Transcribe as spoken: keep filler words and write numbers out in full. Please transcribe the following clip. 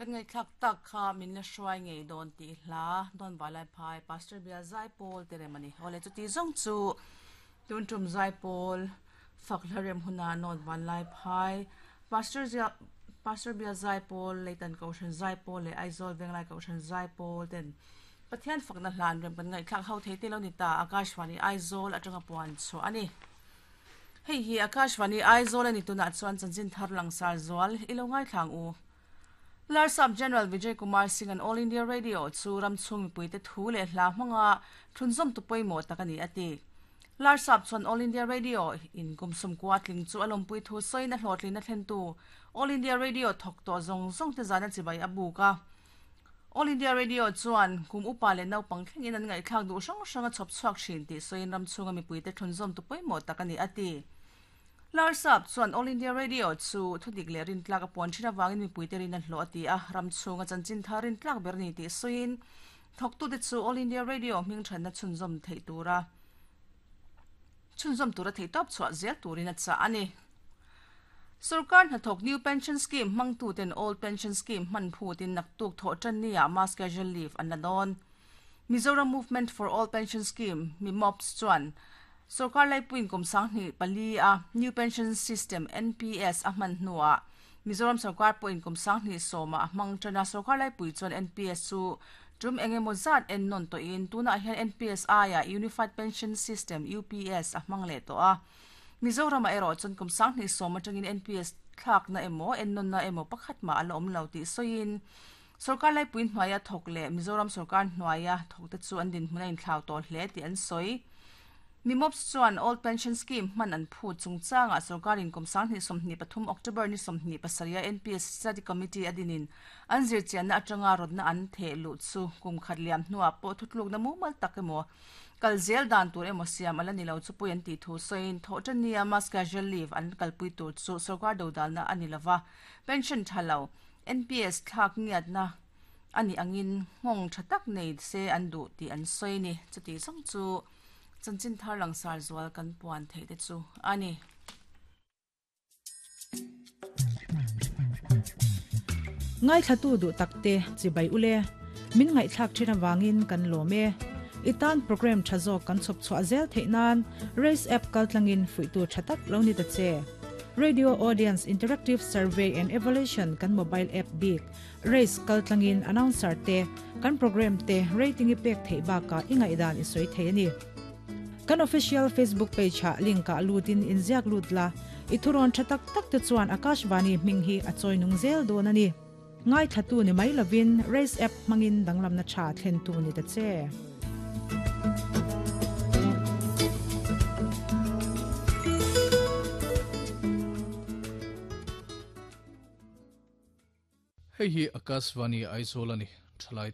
Kan ngai thlak tak kha min la hruai ngei dawn tih hla dawn valai phai Pastor Bial Zaipawl te rem ani. Awle chuti zawng chu tun tum Zaipawl fak hla rem huna nawn vanlai phai Pastor Zia Pastor Bial Zaipawl Leitan Kohhran Zaipawl leh Aizawl Venglai Kohhran Zaipawl ten Pathian fakna hlan rem kan ngai thlak ho thei te lo ni ta Akashvani Aizawl atanga puan chu ani. Hei hi Akashvani Aizawl ani tunah chuan chanchin thar langsar zual ilo ngai thlang u. Larsap General Vijay Kumar Singh an All India Radio chu ram chung mipui te thu leh hla hmanga thunzawm tu pawimawh tak ani a ti. Larsap chuan All India Radio in kum sawm kua tling chu a lawmpui thu sawiin a hlawhtlin a thlen tu All India Radio thawk tawh zawng zawng te zana chibai a buk a. All India Radio chuan kum upa leh naupang thlengin an ngaihthlak duh hrang hrang a chhawp chhuak thin tih sawiin ram chhunga mipui te thunzawm tu pawimawh tak ani a ti. Larsap chuan All India Radio chu thudik leh rintlak a puan thin awangin mipui te rin a hlawh a ti a, ram chhunga chanchin thar rintlak ber ni tih sawiin thawktu te chu All India Radio hming thatna chhunzawm theih tura chhunzawm tura thei tawp chhuah zel turin a chah ani. Sarkar hnathawk New Pension Scheme hmangtu ten Old Pension Scheme hman phutin naktuk thawh tan nia mass casual leave an la dawn. Mizoram Movement for All Pension Scheme MIMOPS chuan Sarkar laipuin kum sanghnih pali a New Pension System N P S a hman hnuah Mizoram sarkar pawhin kum sanghnih sawma a hmang tana sarkar laipui chuan N P S chu tum engemaw zat en nawn tawhin tunah hian N P S aia Unified Pension System U P S a hmang leh tawh a. Mizoram a erawh chuan kum sanghnih sawm atangin N P S thlakna emaw en nawnna emaw pakhat mah a la awm lo tih sawiin sarkar laipui hnuaia thawk leh Mizoram sarkar hnuaia thawk te chu an dinhmun a inthlau tawh hle tih an sawi. MIMOPS chuan Old Pension Scheme hman an phut chungchanga sarkarin kum sanghnih sawmhnih pathum October ni sawmhnih pasarih a N P S Study Committee a dinin an zirchianna atanga rawtna an theh luh chu kum khat liam hnuah pawh thutlukna mumal tak emaw kal zel dan tur emaw siam ala ni lo chu pui an tih thu sawiin thawh tan nia mass casual leave an kalpui tur chu sarkar dodalna ani lova pension thalo N P S thlak ngiatna ani angin nghawng tha tak nei se an duh tih an sawi ni. Chuti zawng chu chanchin thar langsar zual kan puan thei te chu ani. Ngai thlatu du takte chibai ule min ngai thlak thina wangin kan lome itan program thazo kan chop chwa zel theinan Race app kaltlangin fuitu thatak lo ni ta che. Radio Audience Interactive Survey and Evaluation kan mobile app big Race kaltlangin announcer te kan program te rating i pek thei ba ka ingai dan i soi thei ani. Kan official Facebook page ha link ka lutin inziak lut la ithuron thatak tak te chuan Akashvani hming hi a choi nung zel don ani. Ngai thatu ni mai lovin Race app mangin danglam na tha thlen tu ni ta che. Hei hi Akashvani Aizawl ani thalai.